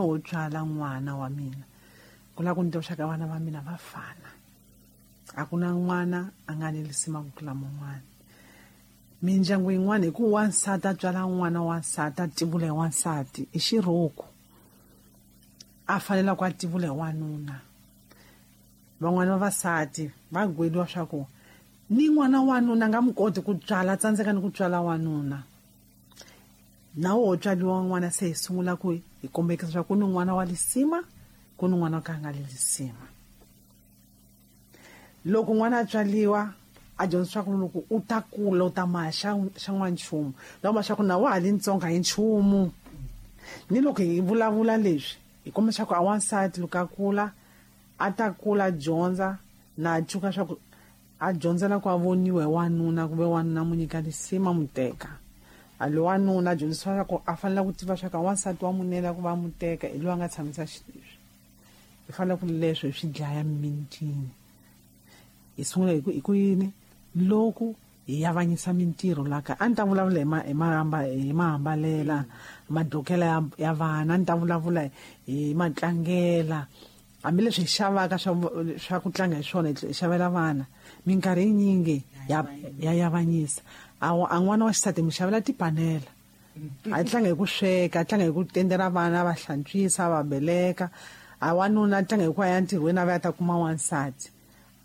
Ho tswala n'wana wa mina ku lava ku ni tiva ka vana va mina va fana, a ku na n'wana a nga ni lisima ku tlula mun'wana. Mindyangu yin'wana hi ku wansati a tswala n'wana wansati a tivula hi wansati i xirhuku, a fanela ku a tivula hi wanuna. Van'wana vavasati va gweliwa swa ku ni n'wana wanuna a nga mu koti ku tswala, a tsandzeka ni ku tswala wanuna. Na wo tswaliwa n'wana se hi sungula ku hi kombekisa swa ku ni n'wana wa lisima, ku ni n'wana ka nga le lisima. Loko n'wana a tswaliwa a dyondzisa ku loko u ta kula u ta maha xa n'wanchumu, loko ma swa ku na wa ha li ntsongo hi nchumu. Ni loko hi vulavula leswi hi kombisa ku a wansati loko a kula a ta kula a dyondza na a cuka swa ku a dyondzela ku a voniwa hi wanuna, ku ve wanuna mu nyika lisima mu teka. A lo wanuna a dyondzisiwa swa ku a fanele ku tiva swa ku wansati wa munela ku va mu teka hi loyi a nga tshamisa xileswi. Hi fanele ku leswo hi swi dlaya mimitini. Hi sungula hi ku yini loko hi avanyisa mintirho la kaya. A ni ta vulavula hi mahambalela, madokela ya vana, a ni ta vulavula hi matlangela. Hambileswi hi xavaka swa ku tlanga hi swona hi xavela vana, minkarhi yinyingi ya yavanyisa. A n'wana wa xisati mi xavela tipanela, a tlanga hi ku sweka, a tlanga hi ku tendela vana, va hlantswisa, va beleka. A wanuna a tlanga hi ku ya entirhweni a va ya ta kuma wansati.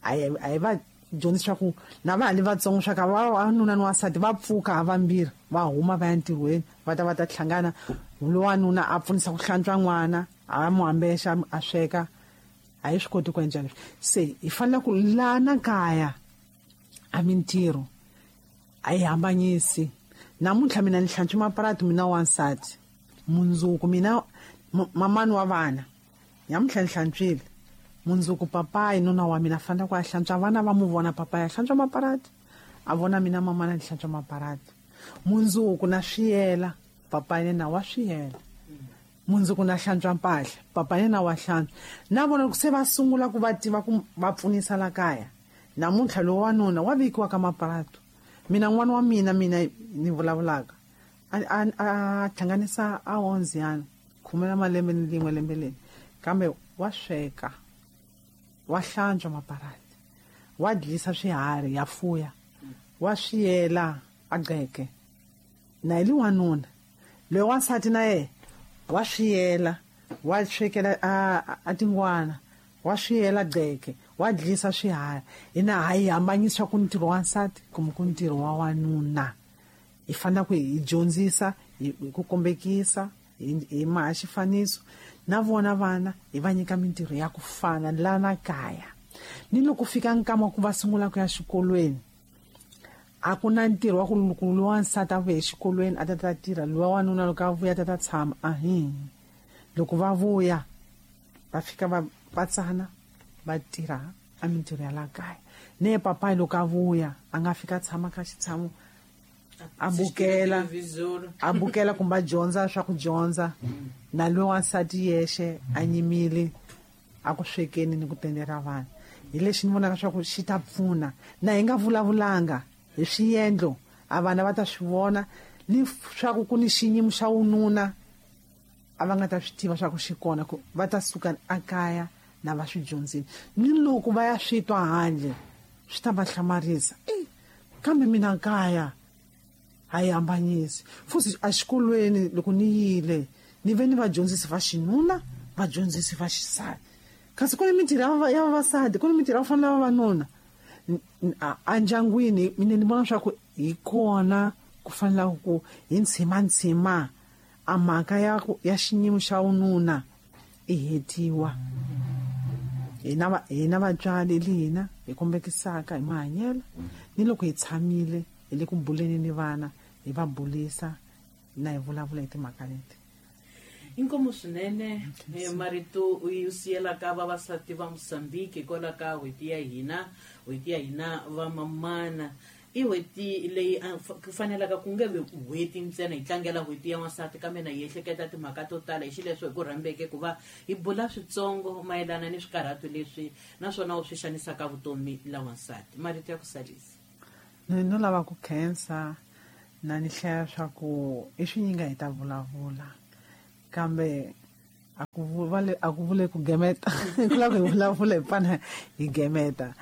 A hi va dyondzisa ku na va ha li vatsongo swa ka wanuna ni wansati va pfuka ha vambirhi va huma va ya entirhweni, va ta va ta hlangana. Lowanuna a pfunisa ku hlantswa n'wana, a mu ambexa a sweka. A hi swi koti ku endla leswi. Se hi fanele ku lana kaya a mintirho a yi hambanyisi. Namuntlha mina ni hlantswa maparati mina wansati, mundzuku mina mamani wa vana namuntlha ni hlantswile, mundzuku papayi nuna wa mina fanele ku a hlantswa vana va mu vona papayi a hlantswa maparati, a vona mina mamana ni hlantswa maparati. Mundzuku na swiyela papayi na wa swiyela, mundzuku na hlantswa mpahla papayi na wa hlantswa. Na vona ku se va sungula ku va tiva ku va pfunisa la kaya. Namuntlha lowu wanuna wa vekiwa ka maparato. Mina n'wana wa mina, mina ni vulavulaka a hlanganisa a onziyana khume ra malembe ni rin'we lembe leri, kambe wa sweka, wa hlantswa maparati, wa dlisa swiharhi ya fuya, wa swiyela a gqeke. Na hi li wanuna loyi wansati na yena wa swiyela, wa swekela a tingwana, wa swiyela gqeke, wa dlisa swiharhi. Hina ha yi hambanyisa ku ntirho wa nsati kumbe ku ntirho wa wanuna. Hi fanele ku hi dyondzisa hi ku kombekisa hi maha xifaniso, na vona vana hi va nyika mintirho ya ku fana lana kaya. Ni loko fika nkama ku va sungula ku ya xikolweni, a ku na ntirho wa ku loko lowa nsati a vuya exikolweni a ta ta tirha, lowa wanuna loko a vuya a ta ta tshama. Ahi, loko va vuya va fika va tsana va tirha a mintirho ya la kaya. Ne papayi loko a vuya a nga fika a tshama ka xitshamo a bukela, a bukela kumbe a dyondza swa ku dyondza, na loyi wansati yexe a nyimile a ku swekeni ni ku tendela vana. Hi lexi ni vonaka swa ku xi ta pfuna. Na hi nga vulavulanga hi swiendlo, a vana va ta swi vona ni swa ku ku ni xiyimo xa wununa a va nga ta swi tiva swa ku xi kona, ku va ta suka a kaya na va swi dyondzile. Ni loko va ya swi twa handle swi ta va hlamarisa, kambe mina kaya a yi hambanyisi. Futhi exikolweni loko ni yile ni ve ni vadyondzisi va xinuna, vadyondzisi va xisati, kasi ku ni mintirho ya vavasati, ku ni mintirho ya ku fana na vavanuna. Endyangwini mina ni vona swa ku hi kona ku fanela ku hi ntshima a mhaka ya xiyimo xa wununa i hetiwa. Hina vatswari li hina hi kombekisaka hi mahanyelo, ni loko hi tshamile hi le ku buleni ni vana hi va bulisa na hi vulavula hi timhaka leti. Inkomu swinene marito yi siyelaka vavasati va Mozambique hikwalaho ka n'hweti ya hina, n'hweti ya hina va mamana. I n'hweti leyi ku fanelaka ku nge vi n'hweti ntsena hi tlangela n'hweti ya wansati, kambe na hi ehleketa timhaka to tala. Hi xileswo hi ku rhambeke ku va hi bula switsongo mayelana ni swikarhato leswi naswona u swi xanisaka vutomi la wansati. Marito ya ku salisa. Ni no lava ku khensa na ni hlaya swa ku i swinyinga hi ta vulavula, kambe A ku vule ku gemeta ku lava ku hi vulavula hi pfana hi gemeta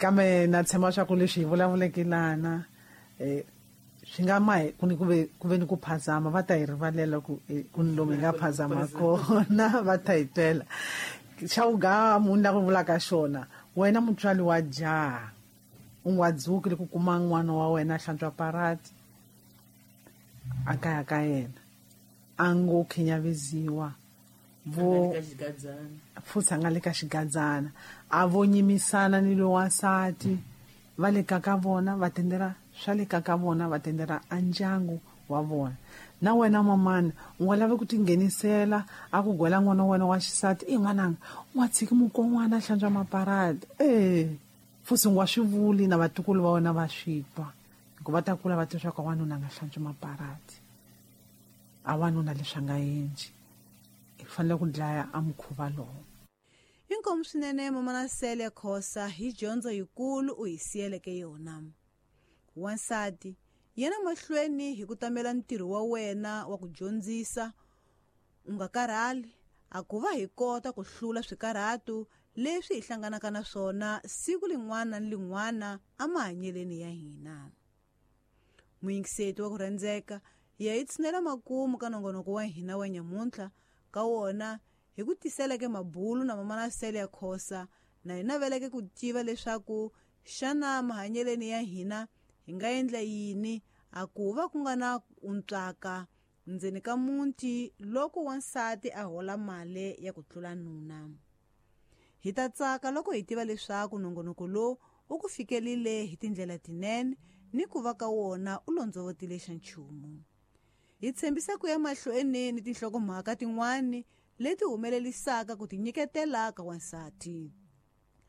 kambe na tshemba swa ku leswi hi vulavuleke lana swi nga ma ku ni ku ve ni ku phazama va ta hi rivalela ku ku ni lomu hi nga phazama kona va ta hi twela xa vugamu ni la ku vulaka xona wena mutswari wa jaha u nga dzuki loko kuma n'wana wa wena a hlantswa parati a kaya ka yena a ngo khinyaveziwa vo futhi a nga le ka xigadzana a vo nyimisana ni lowansati va le ka ka vona va tendela swa le ka ka vona va tendela a ndyangu wa vona na wena mamana u nga lavi ku tinghenisela a ku gwela n'wana wa wena wa xisati i n'wananga u nga tshiki mukon'wana a hlantswa maparati e futhi u nga swi vuli na vatukulu va wena va swi twa hikuva va ta kula va tiva swa ku wanuna a nga hlantswi maparati a wanuna leswi a nga endli hi fanele ku dlaya a mukhuva lowu. Inkomu swinene Mamana Celia Khosa hi dyondzo yikulu u hi siyeleke yona. Wansati, yena mahlweni hi ku tamela ntirho wa wena wa ku dyondzisa, u nga karhali, a ku va hi kota ku hlula swikarhato leswi hi hlanganaka na swona siku lin'wana ni lin'wana emahanyeleni ya hina. Muyingiseti wa ku rhandzeka, hi ya hi tshinela makumu ka nongonoko wa hina wa nyamuntlha ka wona hi ku tiseleke mabulu na Mamana Celia Khosa na hi naveleke ku tiva leswaku xana mahanyeleni ya hina hi nga endla yini a ku va ku nga na untswaka ndzeni ka muti loko wansati a hola mali ya ku tlula nuna. Hi ta tsaka loko hi tiva leswaku nongonoko lowu u ku fikelile hi tindlela tinene ni ku va ka wona u londzovotile xa nchumu. Hi tshembisa ku ya mahlweni ni tinhlokomhaka tin'wani leti humelelisaka ku tinyiketela ka wansati.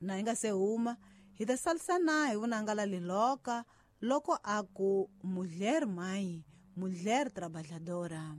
Na hi nga se huma, hi ta salisana hi vunanga la liloka loko a ku mulher mãe, mulher trabalhadora.